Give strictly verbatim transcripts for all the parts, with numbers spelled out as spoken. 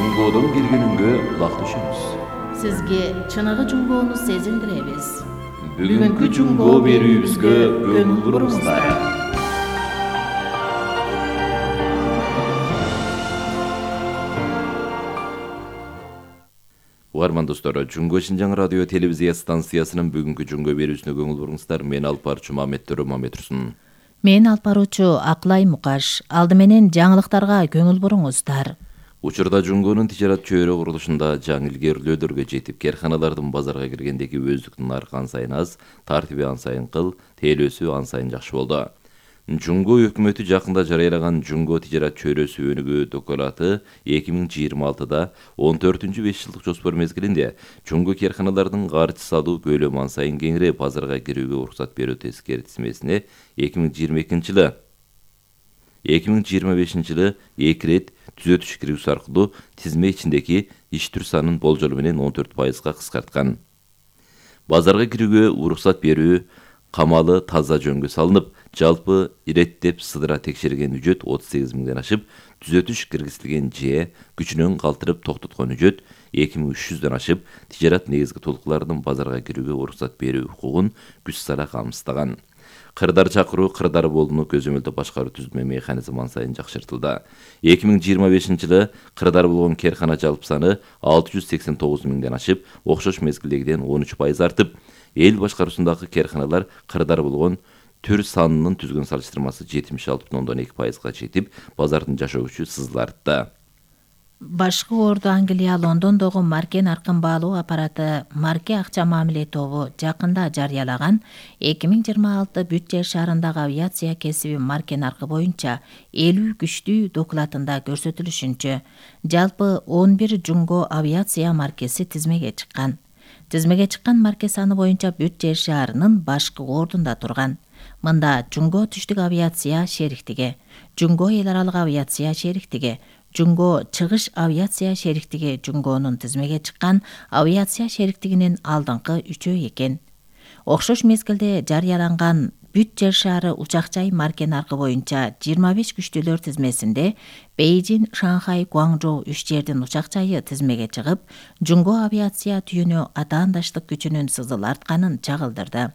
Жунгодон бир күнүнгө улак түшөбүз. Сизге чыныгы жунгоону сезиндиребиз. Бүгүнкү жунгоо берүүбүзгө көңүл буруңуздар. Угарман достор, Жунго Шинжаң радио телевизия станциясынын бүгүнкү жунгоо берүүсүнө көңүл буруңуздар. Мен алып баруучу Мамет Төрө Мамет Турсун. Мен алып баруучу Акылай Мукаш. Алды менен жаңылыктарга көңүл буруңуздар. Учурда жунгонун тижарат чөйрө курулушунда жаңы илгерилөөдөргө жетип, керканалардын базарга киргендеги өздүк наркы ан сайын аз, тартиби ан сайын кыл, тейлөөсү ан сайын жакшы болду. Жунго өкмөтү жакында жарыялаган Жунго тижарат чөйрөсү өнүгүү документу эки миң жыйырма алтыда он төртүнчү беш жылдык жоспор мезгилинде Жунго керканалардын каржы салуу көлөмү ан сайын кеңири базарга кирүүгө уруксат берүү тескертисмесине эки миң жыйырма экинчи жылы эки миң жыйырма бешинчи жылы эки ирет түзөтүш киргизүү аркылуу тизме ичиндеги иш түр санын болжол менен он төрт пайызга кыскарткан. Базарга кирүүгө уруксат берүү камалы таза жөнгө салынып, жалпы иреттеп сыдыра текшерген үжөт отуз сегиз миңден ашып, түзөтүш киргизилген же күчүнөн калтырып токтоткон үжөт эки миң үч жүздөн ашып, тижарат негизги толкулардын базарга кирүүгө уруксат берүү укугун күч сара камсыздаган. Кырдар чакыруу кырдар болууну көзөмөлдөп башкаруу түзмө механизми ан сайын жакшыртылды. эки миң жыйырма бешинчи жылы кырдар болгон керкана жалпы саны алты жүз сексен тогуз миңден ашып, окшош мезгилдегиден он үч пайыз артып, эл башкаруусундагы керканалар кырдар болгон түр санынын түзгөн салыштырмасы жетимиш алты бүтүн ондон эки пайызга жетип, базардын жашоо күчү сызыла артты. Башкы орду Англия Лондондогу Марке наркын баалоо аппараты Марке акча мамиле тобу жакында жарыялаган эки миң жыйырма алты бүт жер шаарындагы авиация кесиби Марке наркы боюнча элүү күчтүү докладында көрсөтүлүшүнчө, жалпы он бир Жунго авиация маркеси тизмеге чыккан. Тизмеге чыккан марке саны боюнча бүт жер шаарынын башкы ордунда турган. Мында Жунго түштүк авиация шериктиги, Жунго эл аралык авиация шериктиги, Жунго чыгыш авиация шериктиги Жунгонун тизмеге чыккан авиация шериктигинин алдыңкы үчөө экен. Окшош мезгилде жарыяланган бүт жер шаары учак жай марке наркы боюнча жыйырма беш күчтүүлөр тизмесинде Бейжин, Шанхай, Гуаңжоу үч жердин учак жайы тизмеге чыгып, Жунго авиация түйүнү атаандаштык күчүнүн сызыл артканын чагылдырды.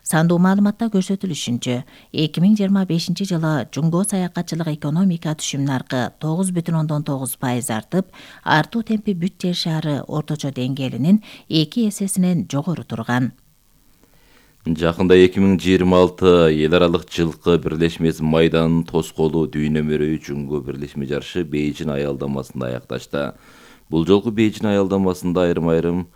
Сандуу маалыматта көрсөтүлүшүнчө, эки миң жыйырма бешинчи жылы Жунго саякатчылык экономика түшүм наркы тогуз бүтүн ондон тогуз пайыз артып, артуу темпи бүт жер шаары орточо деңгээлинин эки эсесинен жогору турган. Жакында эки миң жыйырма алты эл аралык жылкы бирлешмеси майданын тоскоолу дүйнөмөрөй Жунго бирлешме жарышы Бейжин аялдамасында аякташты. Бул жолку Бейжин аялдамасында айрым-айрым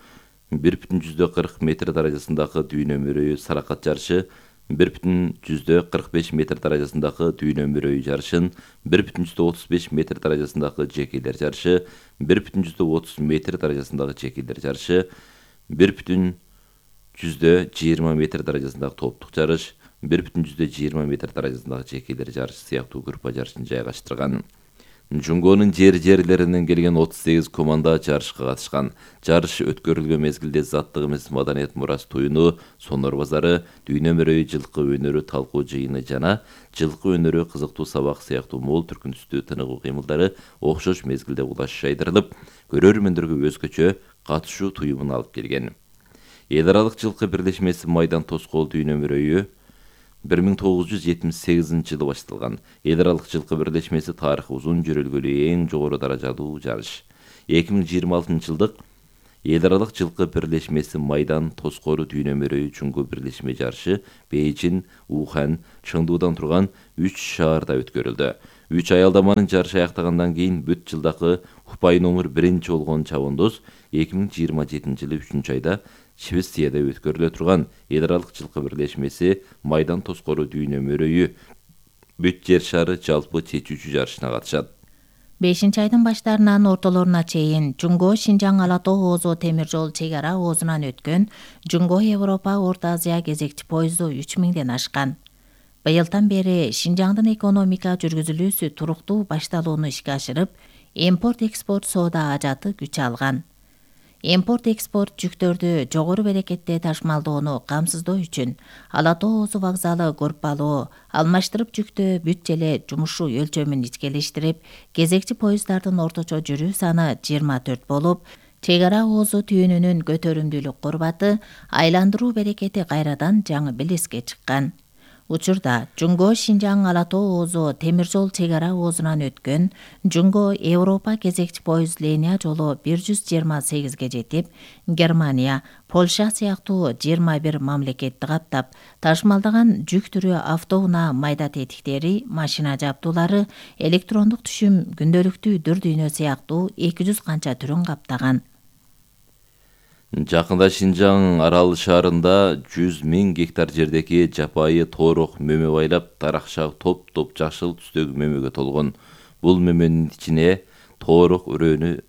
бир бүтүн жүздө кырк метр даражасындагы дүйнөмөрөй саракат жарышы, бир бүтүн жүздө кырк беш метр даражасындагы дүйнөмөрөй жарышын, бир бүтүн жүздө отуз беш метр даражасындагы жекелер жарышы, бир бүтүн жүздө отуз метр даражасындагы жекелер жарышы, бир бүтүн жүздө жыйырма метр даражасындагы топтук жарыш, бир бүтүн жүздө жыйырма метр даражасындагы жекелер жарышы сыяктуу группа жарышын жайгаштырган. Жунгонун жер-жерлеринен келген отуз сегиз команда жарышка катышкан. Жарыш өткөрүлгөн мезгилде заттык эмес маданият мурас туюну, сонор базары, дүйнөмөрөй жылкы өнөрү талкуу жыйыны жана жылкы өнөрү кызыктуу сабак сыяктуу мол түркүн түстүү тыныгуу кыймылдары окшош мезгилде улаш жайдырылып, көрөрмөндөргө өзгөчө катышуу туюмун алып келген. Эл аралык жылкы бирлешмеси майдан тоскоол дүйнөмөрөйү бир миң тогуз жүз жетимиш сегизинчи жылы башталган. Эл аралык жылкы бирлешмеси тарыхы узун жөрөлгөлүү эң жогору даражалуу жарыш. эки миң жыйырма алтынчы жылдык эл аралык жылкы бирлешмеси майдан тоскоолу дүйнөмөрөй Жунго бирлешме жарышы Бейжин, Ухан, Чыңдуудан турган үч шаарда өткөрүлдү. үч аялдаманын жарышы аяктагандан кийин бүт жылдагы Хупай номер биринчи болгон чабандоз эки миң жыйырма жетинчи жылы үчүнчү айда Швецияда өткөрүлө турган эл аралык жылкы бирлешмеси майдан тоскоолу дүйнөмөрөйү бүт жер шаары жалпы чечүүчү жарышына катышат. бешинчи айдын баштарынан ортолоруна чейин Жунго Шинжаң Ала Тоо Оозо темир жол чек ара оозунан өткөн Жунго Европа Орто Азия кезекчи поезду үч миңден ашкан. Быйылдан бери Шинжаңдын экономика жүргүзүлүүсү туруктуу башталууну ишке ашырып, импорт-экспорт соода ажаты күч алган. Импорт экспорт жүктөрдү жогору берекетте ташымалдоону камсыздоо үчүн Ала Тоо Озу вокзалы группалуу алмаштырып жүктөө бүт желе жумушу өлчөмүн ичкелештирип, кезекчи поезддардын орточо жүрүү саны жыйырма төрт болуп, чек ара оозу түйүнүнүн көтөрүмдүүлүк курбаты, айландыруу берекети кайрадан жаңы белеске чыккан. Учурда Жунго Шинжаң Ала Тоо Оозу темир жол чек ара оозунан өткөн Жунго Европа кезекчи поезд линия жолу бир жүз жыйырма сегизге жетип, Германия, Польша сыяктуу жыйырма бир мамлекетти каптап, ташымалдаган жүк түрү автоунаа майда тетиктери, машина жабдуулары, электрондук түшүм, күндөлүктүү дүр дүйнө сыяктуу эки жүз канча түрүн каптаган. Жакында Шинжаң Арал шаарында жүз миң гектар жердеги жапайы тоорок мөмө байлап, таракча топ-топ жашыл түстөгү мөмөгө толгон. Бул мөмөнүн ичине тоорок өрөөнү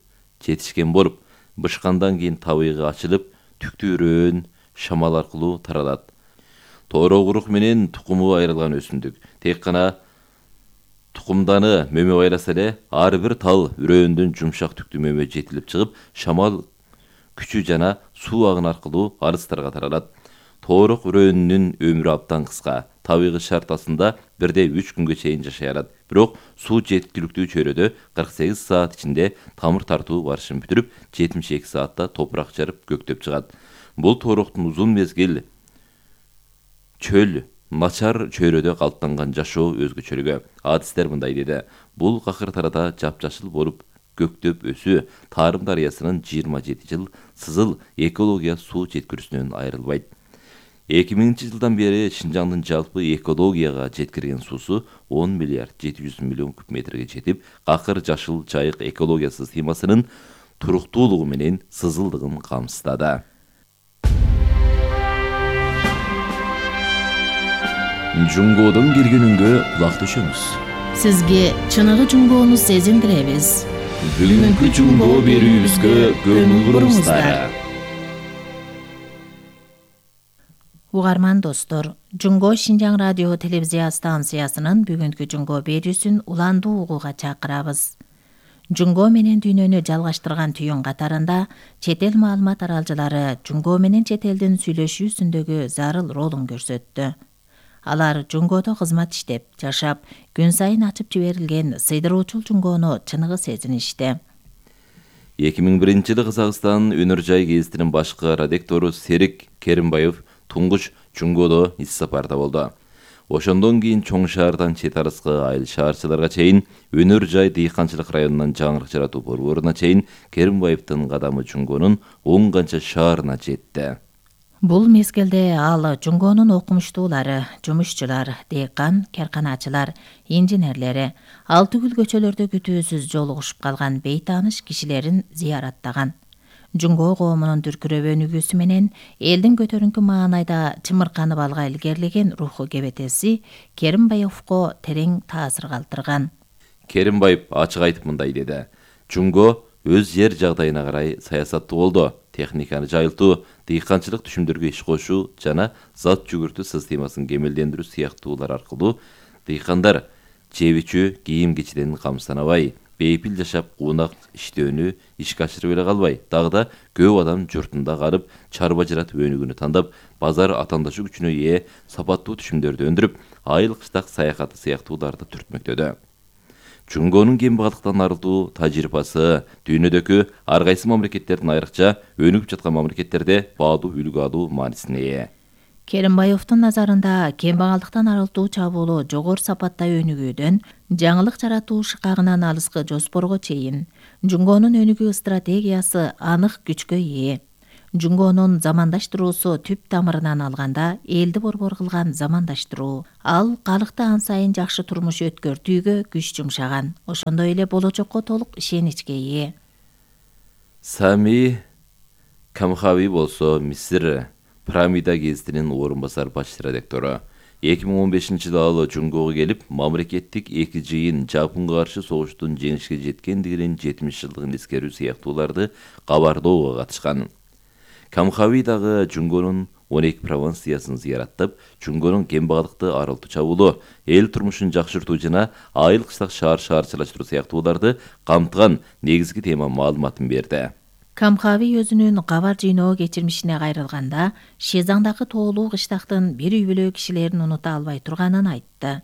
жетишкен болуп, бышкандан кийин табыйгы ачылып, түктүү өрөөн шамал аркылуу таралат. Тоорок урук менен тукуму айрылган өсүмдүк. Тек гана тукумданы мөмө байласа эле, ар бир тал өрөөндөн жумшак түктүү мөмө жетилип чыгып, шамал күчү жана суу агын аркылуу арыстарга таралат. Тоорок өрөөнүнүн өмүрү абдан кыска. Табигый шарт астында бирде үч күнгө чейин жашай алат. Бирок суу жеткиликтүү чөйрөдө кырк сегиз саат ичинде тамыр тартуу барышын бүтүрүп, жетимиш эки саатта топурак жарып көктөп чыгат. Бул тоороктун узун мезгил чөл, начар чөйрөдө калыптанган жашоо өзгөчөлүгү. Адистер мындай деди: бул какыртарада жапжашыл болуп көктөп өсүү Тарым дарыясынын жыйырма жети жыл сызыл экология суу жеткирүүсүнөн айрылбайт. эки миңинчи жылдан бери Шинжаңдын жалпы экологияга жеткирген суусу он миллиард жети жүз миллион куб метрге жетип, какыр жашыл жайык экология системасынын туруктуулугу менен сызылдыгын камсыздады. Жунгодон келгенүнгө кулак төшөмүз. Сизге чыныгы Жунгоону сезиндиребиз. Бүгүнкү Жунго берүүбүзгө көңүл буруңуздар. Угарман достор, Жунго Шинжаң радио телевизия станциясынын бүгүнкү Жунго берүүсүн уландуу угууга чакырабыз. Жунго менен дүйнөнү жалгаштырган түйүн катарында чет эл маалымат аралжылары Жунго менен чет элдин сүйлөшүүсүндөгү зарыл ролун көрсөттү. Алар Жунгодо кызмат иштеп, жашап, күн сайын ачып жиберилген сыйдыруучул Жунгону чыныгы сезиништи. эки миң биринчи жылы Казакстан Өнөр жай гезитинин башкы редактору Серик Керимбаев туңгуч Жунгодо ис сапарда болду. Ошондон кийин чоң шаардан чет арыскы айыл шаарчыларга чейин, Өнөр жай дыйканчылык районунан жаңырык жаратуу борборуна чейин Керимбаевдин кадамы Жунгонун он канча шаарына жетти. Бул мезгилде ал Жунгонун окумуштуулары, жумушчулар, дыйкан, карканачылар, инженерлери, ал түгүл көчөлөрдө күтүүсүз жолугушуп калган бейтааныш кишилерин зыяраттаган. Жунго коомунун дүркүрөп өнүгүүсү менен элдин көтөрүңкү маанайда чымырканып алга илгерилеген руху кебетеси Керимбаевго терең таасир калтырган. Керимбаев ачык айтып мындай деди: Жунго өз жер жагдайына карай саясаттуу болду. Техниканы жайылтуу, дыйканчылык түшүмдөргө иш кошуу жана зат жүгүртүү системасын кемелдендирүү сыяктуулар аркылуу дыйкандар жеп-ичүү, кийим-кечиден камсызданабай, бейпил жашап, куунак иштөөнү ишке ашырып эле калбай, дагы да көп адам журтунда калып, чарба жаратып өнүгүүнү тандап, базар атаандашы күчүнө ээ сапаттуу түшүмдөрдү өндүрүп, айыл кыштак саякаты сыяктууларды түртмөктөдү. Жунгонун кембагалдыктан арылтуу тажрыйбасы дүйнөдөгү ар кайсы мамлекеттердин айрыкча өнүгүп жаткан мамлекеттерде баалуу үлгү алуу маанисине ээ. Керимбаевдин назарында кембагалдыктан арылтуу чабуулу жогору сапатта өнүгүүдөн жаңылык жаратуу шыкагынан алыскы жоспорго чейин Жунгонун өнүгүү стратегиясы анык күчкө ээ. Жунгонун замандаштыруусу түп тамырынан алганда элди борбор кылган замандаштыруу. Ал калыкты ан сайын жакшы турмуш өткөртүүгө күч жумшаган. Ошондой эле болочокко толук ишеничке ээ. Сами Камхави болсо Мисир Пирамида гезитинин орун басар баш редактору. эки миң он бешинчи жылы ал Жунгого келип, мамлекеттик эки жыйын Жапонго каршы согуштун жеңишке жеткендигинин жетимиш жылдыгын эскерүү сыяктууларды кабардоого катышкан. Камхави дагы Жунгонун он эки провинциясын зыяраттап, Жунгонун кембагалдыкты арылтуу чабуулу, эл турмушун жакшыртуу жана айыл кыштак шаар шаарчылаштыруу сыяктууларды камтыган негизги тема маалыматын берди. Камхави өзүнүн кабар жыйноо кечирмишине кайрылганда Шезаңдагы тоолуу кыштактын бир үй бүлө кишилерин унута албай турганын айтты.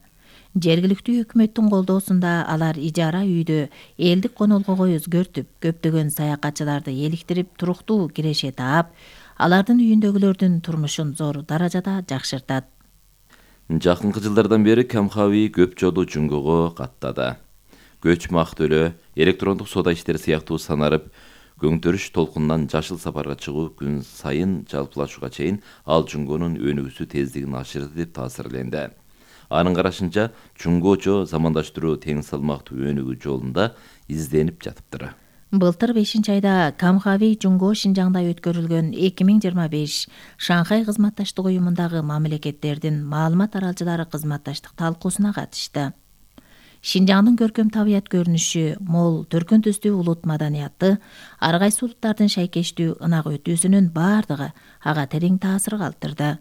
Жергиликтүү өкмөттүн колдоосунда алар ижара үйдө элдик конолгого өзгөртүп, көптөгөн саякатчыларды эликтирип, туруктуу киреше таап, алардын үйүндөгүлөрдүн турмушун зор даражада жакшыртат. Жакынкы жылдардан бери Камхави көп жолу Жунгого каттады. Көчмө ак төлөө, электрондук соода иштери сыяктуу санарып, көңтөрүш толкунунан жашыл сапарга чыгуу күн сайын жалпылашууга чейин ал Жунгонун өнүгүүсү тездигин ашырды деп таасирленди. Анын карашынча, Жунгочо замандаштыруу тең салмактуу өнүгүү жолунда изденип жатыптыр. Былтыр бешинчи айда Камхави Жунго Шинжаңда өткөрүлгөн эки миң жыйырма беш Шанхай кызматташтык уюмундагы мамлекеттердин маалымат аралчылары кызматташтык талкуусуна катышты. Шинжаңдын көркөм табият көрүнүшү, мол төркүн түстүү улут маданияты, ар кайсы улуттардын шайкештүү ынак өтүүсүнүн баардыгы ага терең таасир калтырды.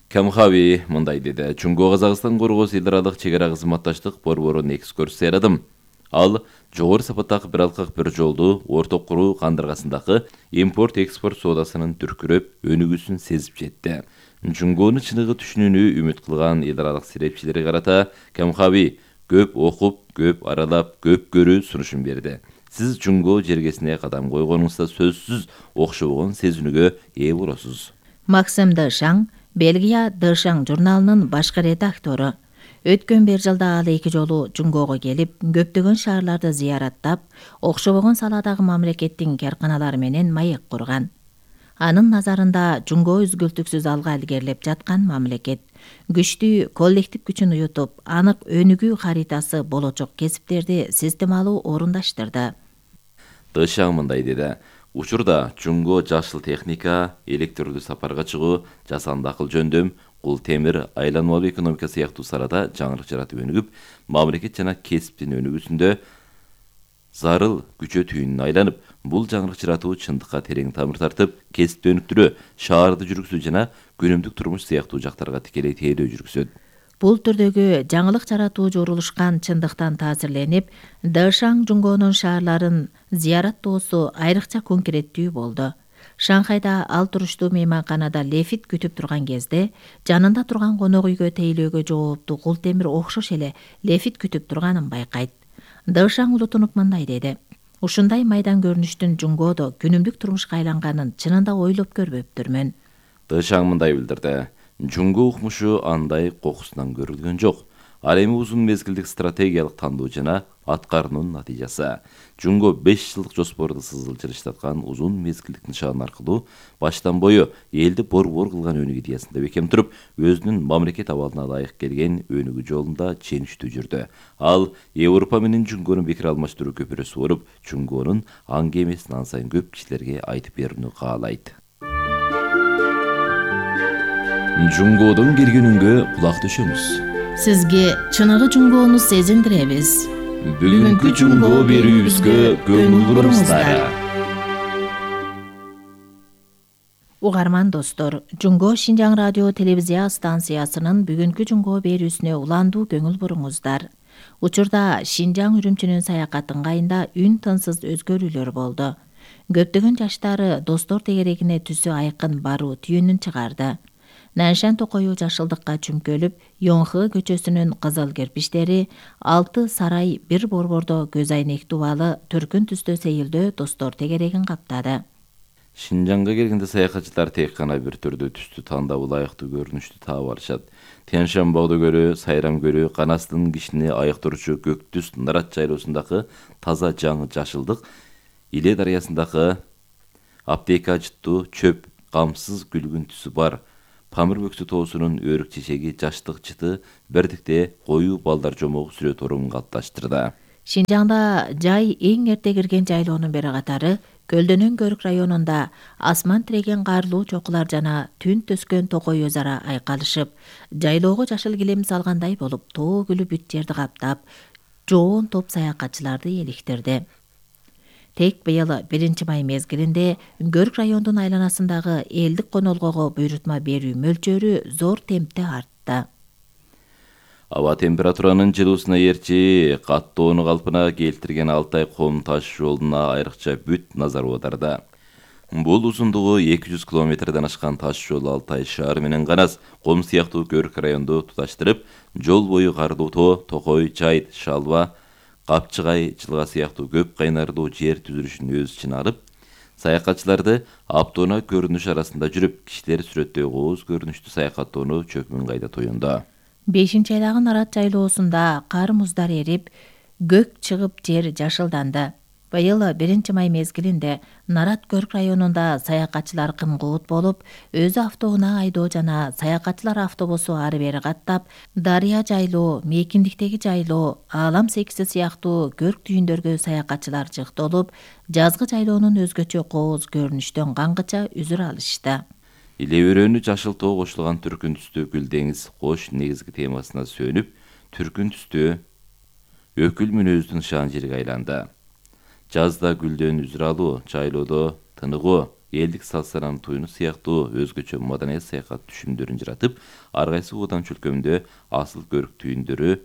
Камхави мындай деди: Жунго Казакстан коргоосу эл аралык чек ара кызматташтык борборун экскурсияладым. Ал жогору сапаттагы бир алкак бир жолдуу орток куруу кандыргасындагы импорт-экспорт соодасынын түркүрөп өнүгүүсүн сезип жетти. Жунгону чыныгы түшүнүүнү үмүт кылган эл аралык серепчилерге карата Камхави көп окуп, көп аралап, көп көрүү сунушун берди. Сиз Жунго жергесине кадам койгонуңузда сөзсүз окшобогон сезүүнүгө ээ болосуз. Максим Дэшаң, Бельгия Дэшаң журналынын башкы редактору. Өткөн бир жылда ал эки жолу Жунгого келип, көптөгөн шаарларды зыяраттап, окшобогон саладагы мамлекеттин карканалары менен маек курган. Анын назарында Жунго үзгүлтүксүз алга илгерилеп жаткан мамлекет. Күчтүү коллектив күчүн уютуп, анык өнүгүү харитасы болочок кесиптерди системалуу орундаштырды. Дэшаң мындай деди: Учурда Жунго жашыл техника, электрлүү сапарга чыгуу, жасанды акыл жөндөм, кул темир, айланмалуу экономика сыяктуу салада жаңылык жаратып өнүгүп, мамлекет жана кесиптин өнүгүүсүндө зарыл күчө түйүнүнө айланып, бул жаңылык жаратуу чындыкка терең тамыр тартып, кесипти өнүктүрүү, шаарды жүргүзүү жана күнүмдүк турмуш сыяктуу жактарга тикелей тейлөө жүргүзөт. Бул түрдөгү жаңылык жаратуу жорулушкан чындыктан таасирленип, Дэшаң Жунгонун шаарларын зыяраттоосу айрыкча конкреттүү болду. Шанхайда ал туруштуу мейманканада лефит күтүп турган кезде, жанында турган конок үйгө тейлөөгө жооптуу кул темир окшош эле лефит күтүп турганын байкайт. Дэшаң улутунуп мындай деди: Ушундай майдан көрүнүштүн Жунгодо күнүмдүк турмушка айланганын чынында ойлоп көрбөптүрмүн. Дэшаң мындай билдирди: Жунго укмушу андай кокусунан көрүлгөн жок. Ал эми узун мезгилдик стратегиялык тандоо жана аткаруунун натыйжасы. Жунго беш жылдык жоспорду сызылчырып жаткан узун мезгилдик нышан аркылуу баштан бою элди борбор кылган өнүгүү идеясында бекем туруп, өзүнүн мамлекет абалына ылайык келген өнүгүү жолунда ченичтүү жүрдү. Ал Европа менен Жунгонун пикир алмаштыруу көпүрөсү болуп, Жунгонун аңгы эмесин ан сайын көп кишилерге айтып берүүнү каалайт. Жунгодон келгенүңгө кулак төшөмүз. Сизге чыныгы Жунгону сезиндиребиз. Бүгүнкү Жунго берүүбүзгө көңүл буруңуздар. Угарман достор, Жунго Шинжаң радио телевизия станциясынын бүгүнкү Жунго берүүсүнө уландуу көңүл буруңуздар. Учурда Шинжаң үрүмчүнүн саякаты ыңгайында үн тынсыз өзгөрүүлөр болду. Көптөгөн жаштары достор тегерегине түсү айкын баруу түйүнүн чыгарды. Наншан Токою жашылдыкка чүмкөлүп, Йонхы көчөсүнүн кызыл кирпиштери, алты сарай бир борбордо көз айнек дубалы төркүн түстө сейилдөө достор тегерегин каптады. Шинжаңга келгенде саякатчылар тек гана бир түрдүү түстү тандап ылайыктуу көрүнүштү таап алышат. Тянь-Шань-богду көлү, Сайрам көлү, канастын кишини айыктыруучу көк түс Нарат жайлоосундагы таза жаңы жашылдык, Иле дарыясындагы аптека жыттуу чөп камсыз күлгүн түсү бар Памир бөксү тоосунун өрүк чечеги жаштык жыты бирдикте коюу балдар жомогу сүрөт орун калыпташтырды. Шинжаңда жай эң эрте кирген жайлоонун бири катары Көлдөнөн Көрүк районунда асман тиреген карлуу чокулар жана түн төскөн токой өз ара айкалышып, жайлоого жашыл килем салгандай болуп, тоо күлү бүт жерди каптап, жоон топ саякатчыларды эликтирди. Тек быйыл биринчи май мезгилинде Көрүк райондун айланасындагы элдик конолгого буйрутма берүү мөлчөрү зор темпте артты. Аба температуранын жылуусуна ээрчи каттоону калпына келтирген Алтай Ком таш жолуна айрыкча бүт назар аударда. Бул узундугу эки жүз километрден ашкан таш жол Алтай шаары менен Канас, Ком сыяктуу Көрк районду туташтырып, жол бою Кардуу Тоо, Токой, Чайт, Шалба, Капчыгай, Жылга сыяктуу көп кайнардуу жер түзүлүшүн өз ичине алып, саякатчыларды аптоона көрүнүш арасында жүрүп, кишилер сүрөттөй кооз көрүнүштүү саякаттоону чөкмүн кайда тоюнда. бешинчи айлагы Нарат жайлоосунда кар муздар эрип, көк чыгып жер жашылданды. Быйыл биринчи май мезгилинде Нарат Көрк районунда саякатчылар кымкуут болуп, өзү автоунаа айдоо жана саякатчылар автобусу ары бери каттап, Дарыя жайлоо, Мейкиндиктеги жайлоо, Аалам секиси сыяктуу көрк түйүндөргө саякатчылар жыктолуп, жазгы жайлоонун өзгөчө кооз көрүнүштөн кангыча үзүр алышты. Иле өрөөнү жашыл тоо кошулган түркүн түстүү гүл деңиз кош негизги темасына сөнүп, түркүн түстүү өкүл мүнөздүн шаан жерге айланды. Жазда гүлдөн үзүр алуу, жайлоодо тыныгуу, элдик салт-салам туюну сыяктуу өзгөчө маданият саякат түшүмдөрүн жаратып, ар кайсы оодан чөлкөмдө асыл көрк түйүндөрү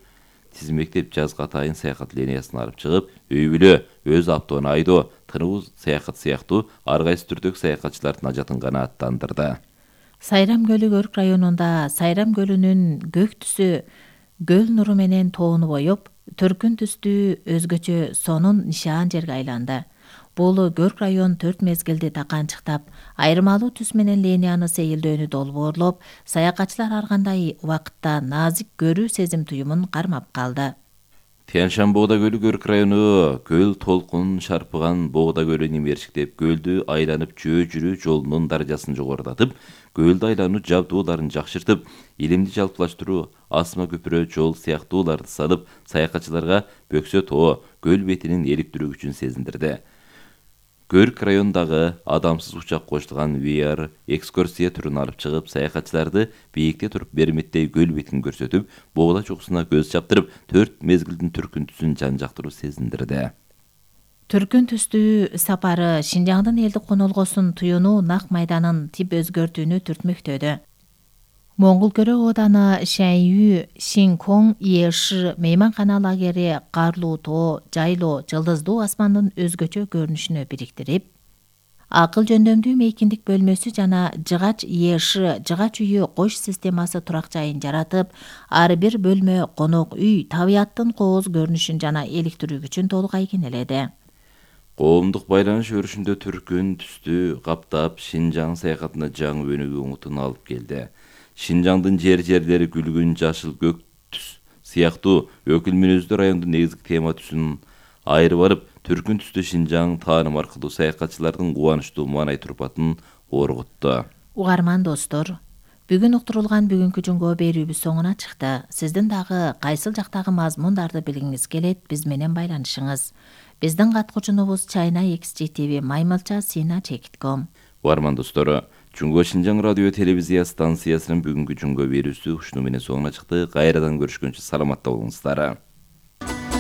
тизмектеп жазга атайын саякат линиясын алып чыгып, үй бүлө, өз автоона айдоо, тынуу саякат сыяктуу ар кайсы түрдөгү саякатчылардын ажатын канааттандырды. Сайрам көлү Көрк районунда Сайрам көлүнүн көк түсү көл нуру менен тоону боюп, түркүн түстүү өзгөчө сонун нишаан жерге айланды. Бул Көрк район төрт мезгилди таканчыктап, айырмалуу түс менен линияны сейилдөөнү долбоорлоп, саякатчылар ар кандай убакытта назик көрүү сезим туюмун кармап калды. Тянь-Шань Боғда көлү Көрк району көл толкун шарпыган Боғда көлүн имерчиктеп, көлдү айланып жөө жүрүү жолунун даражасын жогорулатып, көлдү айлануу жабдууларын жакшыртып, илимди жалпылаштыруу, асма көпүрө жол сыяктууларды салып, саякатчыларга Бөксө тоо көл бетинин эликтирүү сезиндирди. Көрк райондагы адамсыз учак кошулган ви ар экскурсия түрүн алып чыгып, саякатчыларды бийикте туруп берметтей көл бетин көрсөтүп, Боғда чокусуна көз чаптырып, төрт мезгилдин түркүн түсүн жан жактыруу сезиндирди. Түркүн түстүү сапары Шинжаңдын элдик конолгосун туюнуу нак майданын тип өзгөртүүнү түртмөктөдү. Моңгулкөрө ооданы Шәйүү, Шинкоң, Еши мейманкана лагери Карлуу Тоо, жайлоо, жылдыздуу асмандын өзгөчө көрүнүшүнө бириктирип, акыл жөндөмдүү мейкиндик бөлмөсү жана жыгач Еши жыгач үйү кош системасы турак жайын жаратып, ар бир бөлмө конок үй табияттын кооз көрүнүшүн жана эликтирүүгүчүн толук айкенеледи. Коомдук байланыш өрүшүндө түркүн түстүү каптап, Шинжаң саякатына жаңы өнүгүү умутун алып келди. Шинжаңдын жер-жерлери күлгүн жашыл көк түс сыяктуу өкүл мүнөздүү райондун негизги тема түсүн айырып алып, түркүн түстүү Шинжаң тааным аркылуу саякатчылардын кубанычтуу маанай турпатын оргутту. Угарман достор, бүгүн уктурулган бүгүнкү жумго берүүбүз соңуна чыкты. Сиздин дагы кайсыл жактагы мазмундарды билгиңиз келет, биз менен байланышыңыз. Биздин каткуучунубуз Чайна X G T V Маймылча Сина Чекитком. Угарман достору, Жунго Шинжаң радио телевизия станциясынын бүгүнкү жумго берүүсү ушуну менен соңуна чыкты. Кайрадан көрүшкөнчө саламатта болуңуздар.